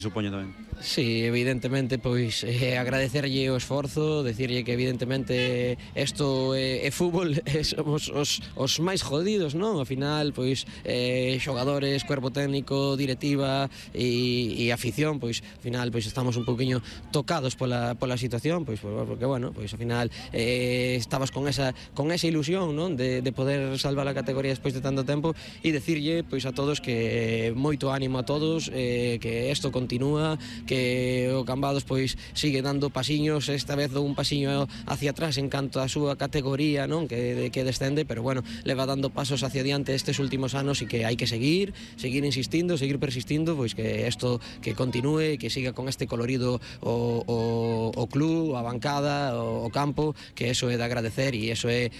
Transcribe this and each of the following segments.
Supoño tamén. Sí, evidentemente, pois agradecerlle o esforzo, decirlle que evidentemente isto é fútbol, somos os máis jodidos, non? Ao final, pois xogadores, cuerpo técnico, directiva e afición, pois ao final pois estamos un poquinho tocados pola situación, pois porque bueno, pois ao final estabas con esa ilusión, non? De poder salvar a categoría despois de tanto tempo e decirlle pois a todos que moito ánimo a todos, que isto continúa, que o Cambados pois sigue dando pasiños, esta vez un pasiño hacia atrás en canto a súa categoría, non? Que descende, pero bueno, leva dando pasos hacia diante estes últimos anos e que hai que seguir insistindo, seguir persistindo, pois que isto que continúe, que siga con este colorido o club, a bancada, o campo, que eso é de agradecer e eso é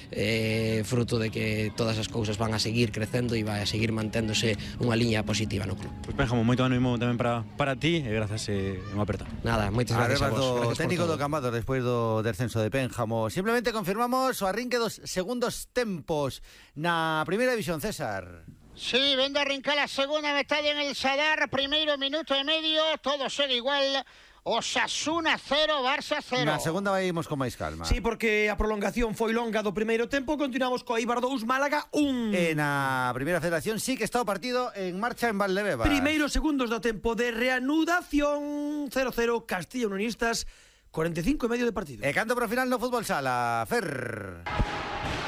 fruto de que todas as cousas van a seguir crecendo e vai a seguir manténdose unha liña positiva no club. Pois Pénjamo, moito ánimo tamén para ti e grazas unha aperta. Nada, moitas gracias a vos. Técnico do Cambados despois do descenso de Pénjamo. Simplemente confirmamos o arrinque dos segundos tempos na primeira división, César. Sí, vende a arrincar a segunda metade en el Sadar, primeiro minuto e medio, todo segue igual. Osasuna 0, Barça 0. Na segunda vaimos con máis calma. Sí, porque a prolongación foi longa do primeiro tempo. Continuamos co Eibar 2, Málaga 1. E na primeira federación sí que está o partido en marcha en Valdebebas. Primeiros segundos do tempo de reanudación. 0-0, Castilla Unionistas, 45 e medio de partido. E canto para o final no fútbol sala, Fer.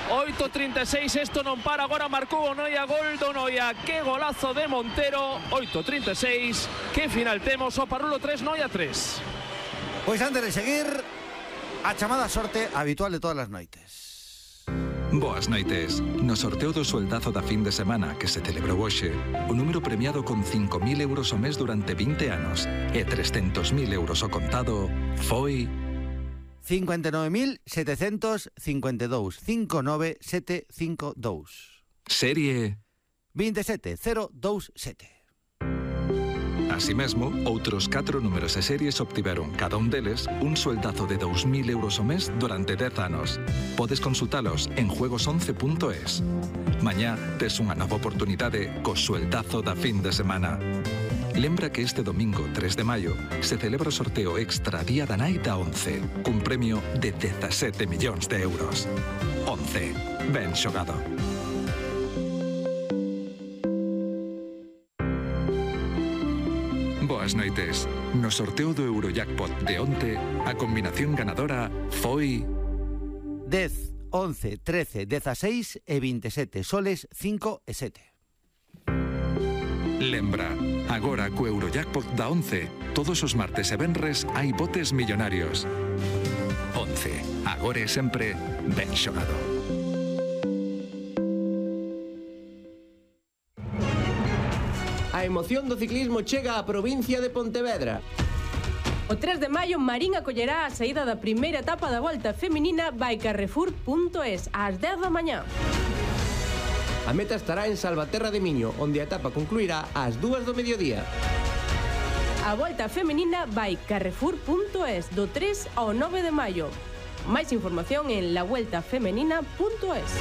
8:36, esto non para, agora marcou o Noia, gol do Noia, que golazo de Montero. 8:36, que final temos? O Parrulo 3, Noia 3. Pois antes de seguir, a chamada sorte habitual de todas as noites. Boas noites. No sorteo do sueldazo da fin de semana que se celebrou hoxe, o número premiado con 5.000 euros ao mes durante 20 anos e 300.000 euros ao contado foi 59.752, 59752. Serie 27027. Así mesmo, outros 4 números e series obtiveron, cada un deles, un sueldazo de 2.000 euros ao mes durante 10 anos. Podes consultalos en juegos11.es. Mañá tes unha nova oportunidade co sueldazo da fin de semana. Lembra que este domingo 3 de maio se celebra o sorteo extra Día da Nai da 11, cun premio de 17 millóns de euros. 11. Ben xogado. Boas noites. No sorteo do Eurojackpot de onte, a combinación ganadora foi 10, 11, 13, 16 e 27, soles 5 e 7. Lembra, agora co Eurojackpot da 11, todos os martes e venres hai botes millonarios. 11, agora e sempre ben xogado. A emoción do ciclismo chega á provincia de Pontevedra. O 3 de maio, Marín acollerá a saída da primeira etapa da Volta Feminina by Carrefour.es ás 10 da mañá. A meta estará en Salvaterra de Miño, onde a etapa concluirá ás 2 do mediodía. A Volta Feminina by Carrefour.es do 3 ao 9 de maio. Máis información en lavueltafemenina.es.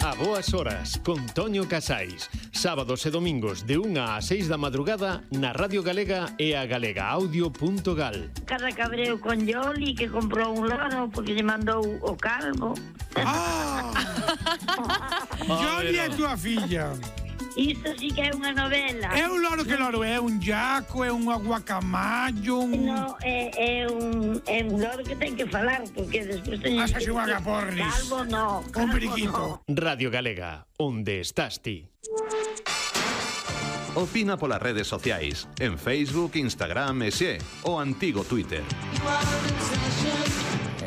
A boas horas, con Toño Casais. Sábados e domingos de 1 a 6 da madrugada na Radio Galega e a galegaaudio.gal. Cada cabreo con Yoli que comprou un loro porque lle mandou o calvo. Yoli é tua filla. Isto sí que é unha novela. É un loro, que loro é? Un jaco, é un aguacamayo, un... No, é un loro que ten que falar, porque despois teño... Asas un agapornis. Calvo no. Un periquito. Radio Galega, onde estás ti? Opina polas redes sociais, en Facebook, Instagram e xe, o antigo Twitter.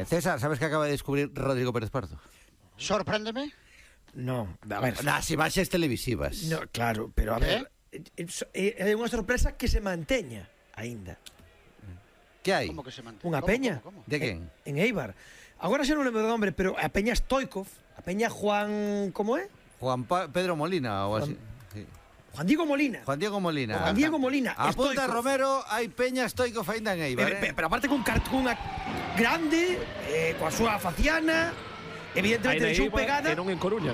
César, sabes que acaba de descubrir Rodrigo Pérez Pardo? Sorpréndeme. No, a ver, nas imaxes televisivas. No, claro, pero a ver, é unha sorpresa que se manteña aínda. Que hai? Como que se mantén? Unha peña. ¿Cómo? De quen? En Eibar. Agora xa non lembro do nombre, pero a peña Stoikov, a peña Juan, como é? Pedro Molina ou así. Juan Diego Molina. Juan Diego Molina. Juan Diego Molina. Apunta Romero, hai peña Stoikov aínda en Eibar. Pero aparte cunha grande, coa súa faciana. Evidentemente deixou pegada. E non en Coruña.